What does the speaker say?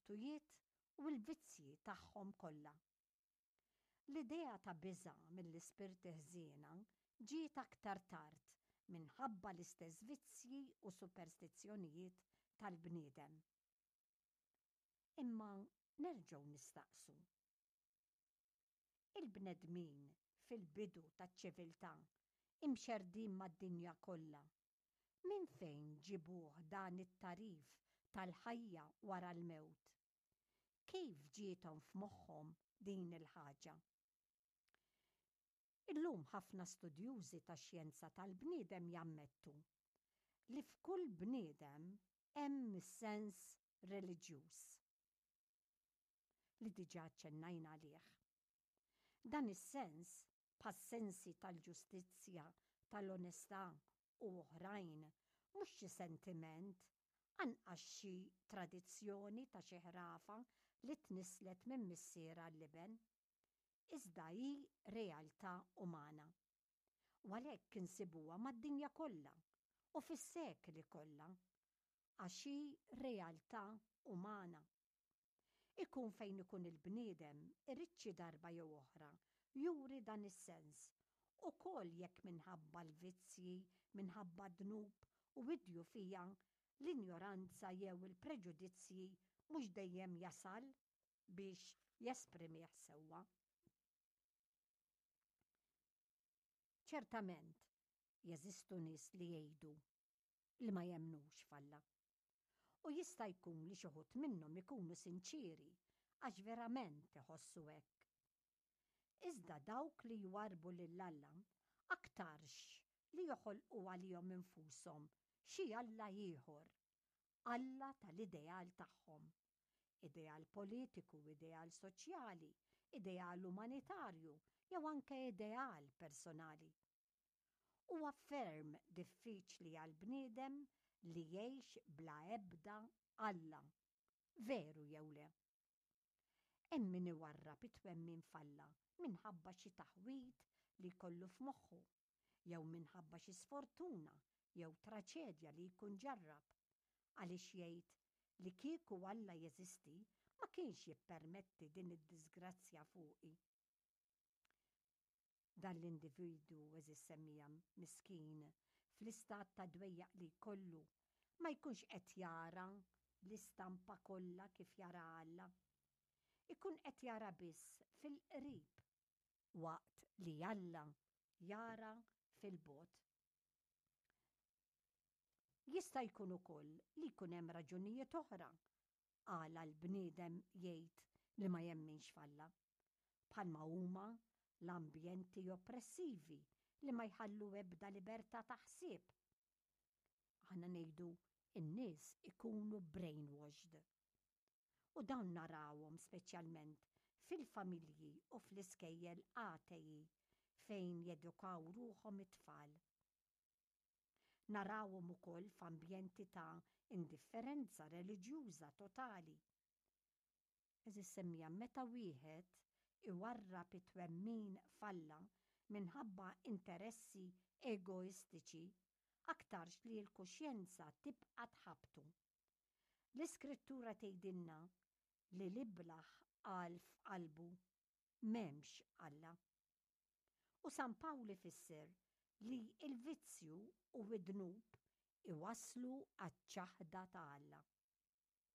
Bil-virtujiet u l-vizzji tagħhom kollha. L-idea ta' biża' mill-ispirti ħżiena ġiet aktar tard minħabba l-istess vizzji u superstizzjonijiet tal-bniedem. Imma nerġgħu nistaqsu. Il-bnedmin fil-bidu taċ-ċiviltà, imxerrdin mad-dinja kollha, minn fejn ġibuh dan it-tagħrif tal-ħajja wara l-mewt? Kif ġiethom f'moħħhom din il-ħaġa? Illum ħafna studjużi tax-xjenza tal-bniedem jammettu li f'kull bniedem hemm is-sens reliġjuż li diġà aċċennajna għalih. Dan is-sens, bħas-sensi tal-ġustizzja, tal-onestà u oħrajn, mhux xi sentiment, anqas xi tradizzjoni ta' xi ħrafa li tnisslet minn missier għall-iben, iżda hi realtà umana. U għalhekk insibuha mad-dinja kollha u fis-sekli kollha, għax hi realtà umana. Ikun fejn ikun il-bniedem irid xi darba jew oħra juri dan is-sens, ukoll jekk minħabba l-vizzji, minħabba d-dnub u d-djufija, l-injoranza jew il-preġudizzji mhux dejjem jasal biex jesprimih sewwa. Ċertament, jeżistu nies li jgħidu li ma jemmnux f'Alla. U jista' jkun li xi wħud minnhom ikunu sinċieri għax verament iħossu hekk. Iżda dawk li jwarrbu lil Alla aktarx li joħolqu għalihom infushom xi alla ieħor, alla tal-ideal tagħhom. Ideal politiku, ideal soċjali, ideal umanitarju jew anke ideal personali. Huwa ferm diffiċli għall-bniedem li jgħix bla ebda Alla, veru jew le? Hemm min iwarrab it-twemmin f'Alla minħabba xi taħwid li jkollu f'moħħu, jew minħabba xi sfortuna jew traċedja li jkun ġarrab, għaliex jgħid li kieku Alla jeżisti ma kienx jippermetti din id-diżgrazzja fuqi. Dan l-individwu, għeżież semmiegħa, miskin, fl-istat ta' dwejjaq li jkollu, ma jkunx qed jara l-istampa kollha kif jaraha Alla. Ikun qed jara biss fil-qrib, waqt li Alla jara fil-bogħod. Jista' jkun ukoll li jkun hemm raġunijiet oħra għala l-bniedem jgħid li ma jemminx f'Alla, bħalma huma l-ambjenti oppressivi li ma jħallu ebda libertà ta' ħsieb. Aħna ngħidu n-nies ikunu brainwashed. U dawn narawhom speċjalment fil-familji u fl-iskejjel atei fejn jedukaw ruħhom it-tfal. Narawhom ukoll f'ambjenti ta' indifferenza reliġjuża totali. Għeżież semmiegħa, meta wieħed iwarrab it-twemmin f'Alla minħabba interessi egoistiċi, aktarx li l-kuxjenza tibqa' tħabbtu. L-Iskrittura tgħidilna li l-iblah qal f'qalbu, M'hemmx Alla. U San Pawl ifisser li l-vizzju u d-dnub iwasslu għaċ-ċaħda ta' Alla.